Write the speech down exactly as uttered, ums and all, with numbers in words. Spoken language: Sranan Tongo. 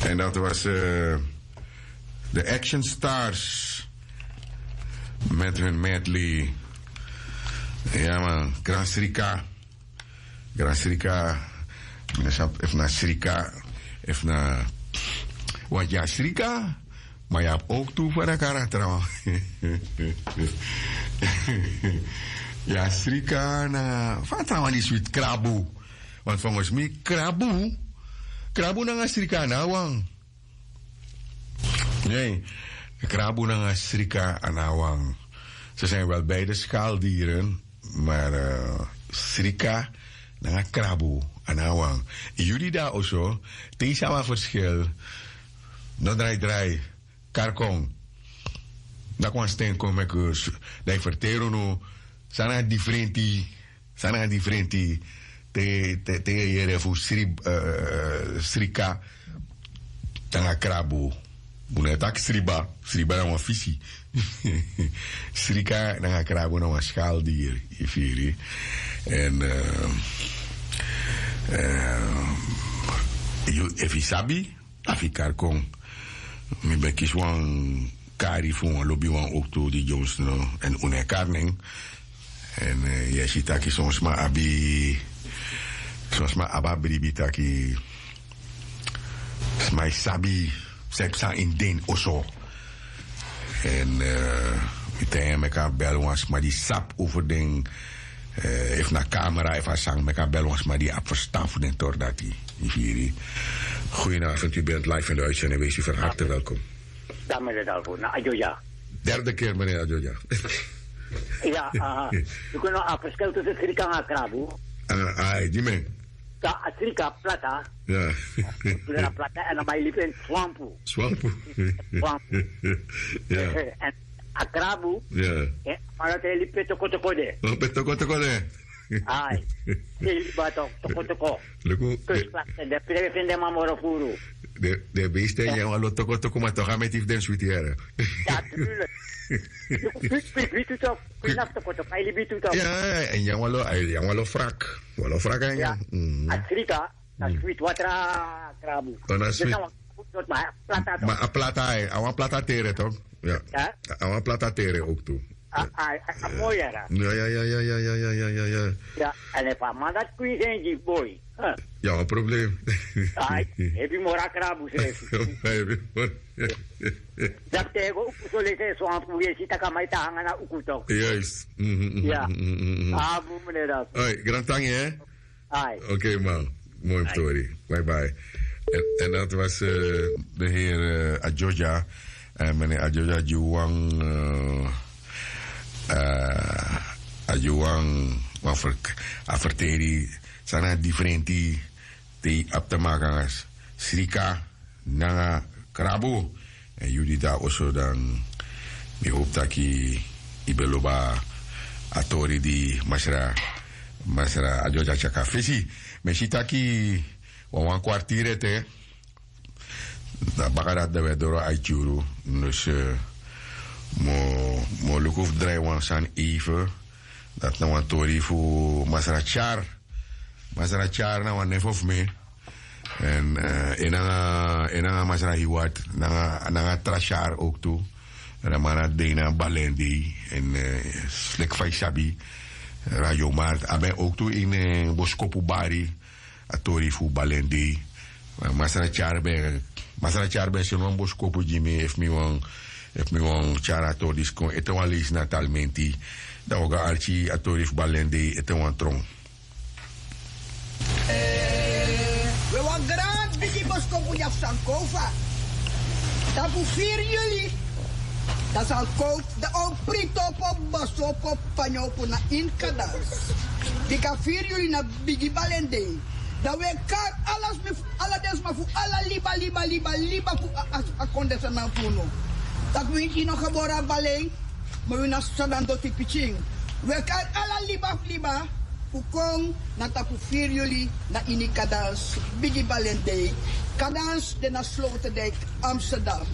En dat was eh, de Action Stars met hun medley. Ja man, Gran Srika. Gran Srika. Meneer Sap, efu na Srika, efu na, want ya Srika, maar ya abi ook tu voor de karakter. Ya Srika na, fa trawan di switi, Krabu. Want volgens mi Krabu, Krabu nanga Srika na wan. Nee, Krabu nanga Srika a na wan. Ze zijn wel beide schaaldieren, maar eh, Srika nanga Krabu a na wan. Yu di dati oso, te yu sabi a verschil, no drai drai, kari kon. Dati wan sten kon meki, dan yu ferteri unu san na a difrenti, san na a difrenti te, te, te yu e yere fu sri, eh, Srika nanga Krabu. Un no e taki sriba, sriba na wan fisi. Srika nanga Krabu na wan schaaldier, yu firi. En eh, eh, yu, efu yu sabi, a fu yu kari kon. Mi ben kisi wan kari fu wan lobiwan owktu di Jones no, en un no e kari nen. En eh, yu e si taki son sma abi, son sma abi a bribi taki sma e sabi san e psa ini den oso. En eh, mi taigi en meki a bel wan sma di sabi over den, eh, efu na kamera efu a sani, meki a bel wan sma di abi ferstan fu den tori dati. Yu firi. Goedenavond, u bent live in de uitzending, wees u van harte welkom. Dan meneer Dalvo, na Ajoja. Derde keer, meneer Ajoja. Ya, aha. Yu no abi a verschil tussen Srika nanga Krabu? Ah, ai, di men. Ka a Srika plata. Ya. Plata, plata, en dan ben yu libi ini swampu. Swampu. Swampu. Ya. En a Krabu. Ya. Eh, maar dat hij liep pe toko toko de. Oh, pe toko toko de. Ai, te yu libi toko toko. Luku, de, de, de beesten, ya, wan lo toko toko, maar toch gaan met die den sweet here. Natuurlijk. Luku, fit, fit, fit, toch. Kwina toko toko, ai libi tu toch. Ya, en ya wan lo, ai, ya wan lo frak. Wan lo frak en ya. A Srika, na sweet water Krabu. Oh, na sweet. Ma a plata toch. Ma a plata, ai, a wan plata tere toch? Ya. A wan plata tere owktu. A, a, a moi yara. Ya, ya, ya. Ya, en efu a man dati kwinsi en gi boi. Ya, wan problem. Ai, ebi moro a Krabu srefi. Ebi moro. Dati te go uku so leki swampu, yu e si taki a man e tan nanga na uku toch. Juist. Mhm, mhm, mhm, mhm. Ya. A bun, meneer Dalvo. Ai, grantangi, hè? Ai. Oké, man. Mooi story. Bye bye. En, en dat was eh, de heer eh, Ajoja. En meneer Ajoja, Ajuwan, eh, eh, Ajuwan, wan ver-, a ferteri san na a difrenti te yu abi te maki nanga Srika nanga Krabu. En yu di dati oso, dan mi hopu taki yu ben lobi a tori di masra, masra Ajoja tyari kon na fesi. Mi e si taki wan, wan kwartier ete. Dan baka dati dan wi e doro a iti yuru. Dus eh, mi o, mi o luku fu drai wan sani even. Dati na wan tori fu masra Tyari. Masra Tyari na wan nefo fu mi. En eh, en nanga, en nanga masra Hiwat, nanga, nanga tra Tyari owktu. En a man na dei na Balendei. En eh, leki fa yu sabi, Radio Markt a ben owktu ini eh, boskopu bari a tori fu Balendei. Ma masra Tyari ben, masra Tyari ben seni wan boskopu gi mi, efu mi wani, efu mi wani tyari a tori disi kon ete wan leisi na Talmenti, dan wi o go arki a tori fu Balendei ete wan tron. We wan gran bigi boskopu dya fu Sankofa. Tapu firi yuli, dan Sankofa, dan o prito opo, boskopu opo, fanyo opo na ini Kadans. Bika firi yuli na bigi Balendei. Dan wi e kari ala sma fu, ala den sma fu ala liba, liba, liba, liba fu a, a, a kondre san na fu unu. Taki winti no gebore na Balen, ma wi na Sanan doti pikin. Wi e kari ala liba fu liba fu kon na tapu firi yuli na ini Kadans, bigi Balendei. Kadans de na Sloterdijk, Amsterdam.